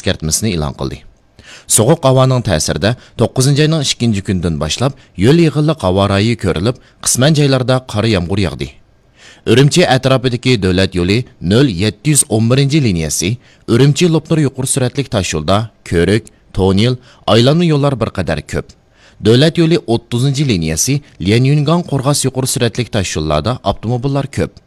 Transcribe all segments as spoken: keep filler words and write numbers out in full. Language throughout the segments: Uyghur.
ئەسكەرتمىسىنى ئېلان قىلدى. سوغۇق ھاۋانىڭ تەسىرىدە توققۇزىنچى ئاينىڭ ئىككىنچى كۈنىدىن باشلاپ يۆل يېغىنلىق ھاۋا رايى كۆرۈلۈپ، قىسمەن جايلاردا قارا يامغۇر ياغدى. ئۈرۈمچى ئەتراپىدىكى دۆلەت يولى نۆل يەتتە يۈز ئون بىرىنچى لىنىيەسى، ئۈرۈمچى لوپنۇر يۇقىرى سۈرئەتلىك تاشيولدا كۆرۈك، توننېل، ئايلانما يوللار بىر قەدەر كۆپ. دۆلەت يولى ئوتتۇزىنچى لىنىيەسى، ليەنيۈنگاڭ قورغاس يۇقىرى سۈرئەتلىك تاشيوللاردا ئاپتوموبىللار كۆپ.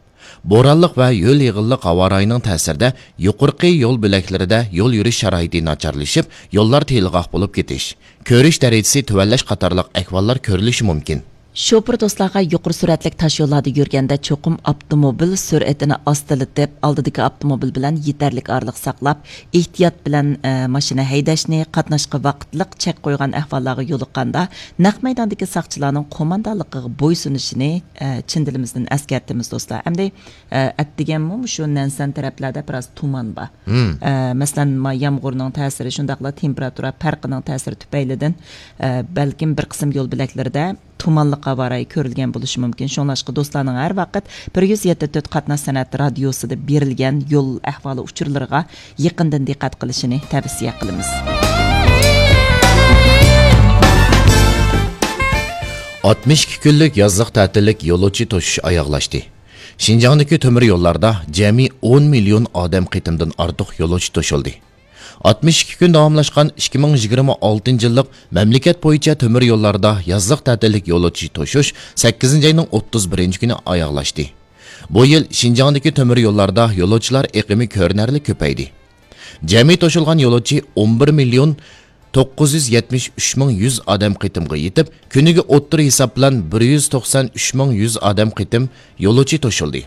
بورانلىق ۋە يۆل يېغىنلىق ھاۋا رايىنىڭ تەسىرىدە يۇقىرىقى يول بۆلەكلىرىدە يول يۈرۈش شارائىتى ناچارلىشىپ، يوللار تېلىغاق بولۇپ كېتىش، كۆرۈش دەرىجىسى تۆۋەنلەش قاتارلىق ئەھۋاللار كۆرۈلۈشى مۇمكىن. شوپۇر دوستلارغا يۇقىرى سۈرئەتلىك تاشيوللاردا يۈرگەندە چوقۇم ئاپتوموبىل سۈرئىتىنى ئاستىلىتىپ، ئالدىدىكى ئاپتوموبىل بىلەن يېتەرلىك ئارىلىق ساقلاپ، ئېھتىيات بىلەن، ئە، ماشىنا ھەيدەشنى، قاتناشقا ۋاقىتلىق چەك قويغان ئەھۋاللارغا يولۇققاندا، نەق مەيداندىكى ساقچىلارنىڭ قوماندانلىقىغا بويسۇنۇشىنى، ئە، چىن دىلىمىزدىن ئەسكەرتىمىز، دوستلار. ئەمدى، ئە، ئەتىگەنمۇ مۇشۇ نەنسەن تەرەپلەردە بىراز تۇمان بار. مم. ئە، مەسىلەن، ما يامغۇرنىڭ تەسىرى، شۇنداقلا تېمپېراتۇرا پەرقىنىڭ تەسىرى تۈپەيلىدىن، ئە، بەلكىم بىر قىسىم يول بۆلەكلىرىدە تۇمانلىق ھاۋا رايى كۆرۈلگەن بولۇشى مۇمكىن. شۇڭلاشقا دوستلارنىڭ ھەر ۋاقىت بىر يۈز يەتتە تۆت قاتناش سەنئەت رادىيوسىدا بېرىلگەن يول ئەھۋالى ئۇچۇرلىرىغا يېقىندىن دىققەت قىلىشىنى تەۋسىيە قىلىمىز. ئاتمىش ئىككى كۈنلۈك يازلىق تەتىللىك يولۇچى توشۇش ئاياغلاشتى. شىنجاڭدىكى تۆمۈر يوللاردا جەمئىي ئون مىليون ئادەم قېتىمدىن ئارتۇق يولۇچى توشۇلدى. ئاتمىش ئىككى كۈن داۋاملاشقان ئىككى مىڭ يىگىرمە ئالتىنچى يىللىق مەملىكەت بويىچە تۆمۈر يوللاردا يازلىق تەتىللىك يولۇچى توشۇش سەككىزىنچى ئاينىڭ ئوتتۇز بىرىنچى كۈنى ئاياغلاشتى. بۇ يىل شىنجاڭدىكى تۆمۈر يوللاردا يولۇچىلار ئېقىمى كۆرۈنەرلىك كۆپەيدى. جەمئىي توشۇلغان يولۇچى ئون بىر مىليون توققۇز يۈز يەتمىش ئۈچ مىڭ يۈز ئادەم قېتىمغا يېتىپ، كۈنىگە ئوتتۇرا ھېساب بىلەن بىر يۈز توقسان ئۈچ مىڭ يۈز ئادەم قېتىم يولۇچى توشۇلدى.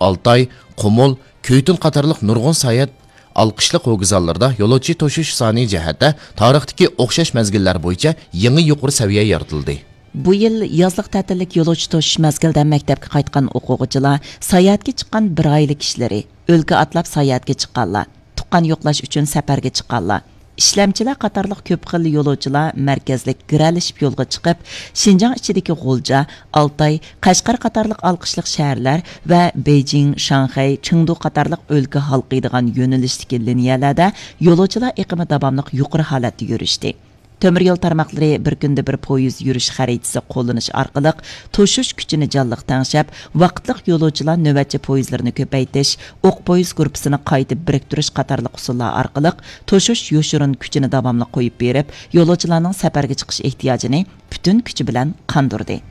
ئالتاي، قۇمۇل، كۈيتۈن قاتارلىق نۇرغۇن ساياھەت ئالقىشلىق ھوگىزانلىرىدا يولۇچى توشۇش سانى جەھەتتە تارىختىكى ئوخشاش مەزگىللەر بويىچە يېڭى يۇقىرى سەۋىيە يارىتىلدى. بۇ يىل يازلىق تەتىللىك يولۇچى توشۇش مەزگىلىدە مەكتەپكە قايتقان ئوقۇغۇچىلار، ساياھەتكە چىققان بىر ئائىلە كىشىلىرى، ئۆلكە ئاتلاپ ساياھەتكە چىققانلار، تۇغقان يوقلاش ئۈچۈن سەپەرگە چىققانلار، ئىشلەمچىلەر قاتارلىق كۆپ خىل يولۇچىلار مەركەزلىك گىرەلىشىپ يولغا چىقىپ، شىنجاڭ ئىچىدىكى غۇلجا، ئالتاي، قەشقەر قاتارلىق ئالقىشلىق شەھەرلەر ۋە بېيجىڭ، شاڭخەي، چېڭدۇ قاتارلىق ئۆلكە ھالقىيدىغان يۆنىلىشتىكى لىنىيەلەردە يولۇچىلار ئېقىمى داۋاملىق يۇقىرى ھالەتتە يۈرۈشتى. تۆمۈر يول تارماقلىرى بىر كۈندە بىر پويىز يۈرۈش خەرىتىسى قوللىنىش ئارقىلىق توشۇش كۈچىنى جانلىق تەڭشەپ، ۋاقىتلىق يولۇچىلار نۆۋەتچى پويىزلىرىنى كۆپەيتىش، ئوق پويىز گۇرۇپپىسىنى قايتا بىرىكتۈرۈش قاتارلىق ئۇسۇللار ئارقىلىق توشۇش يوشۇرۇن كۈچىنى داۋاملىق قويۇپ بېرىپ، يولۇچىلارنىڭ سەپەرگە چىقىش ئېھتىياجىنى پۈتۈن كۈچى بىلەن قاندۇردى.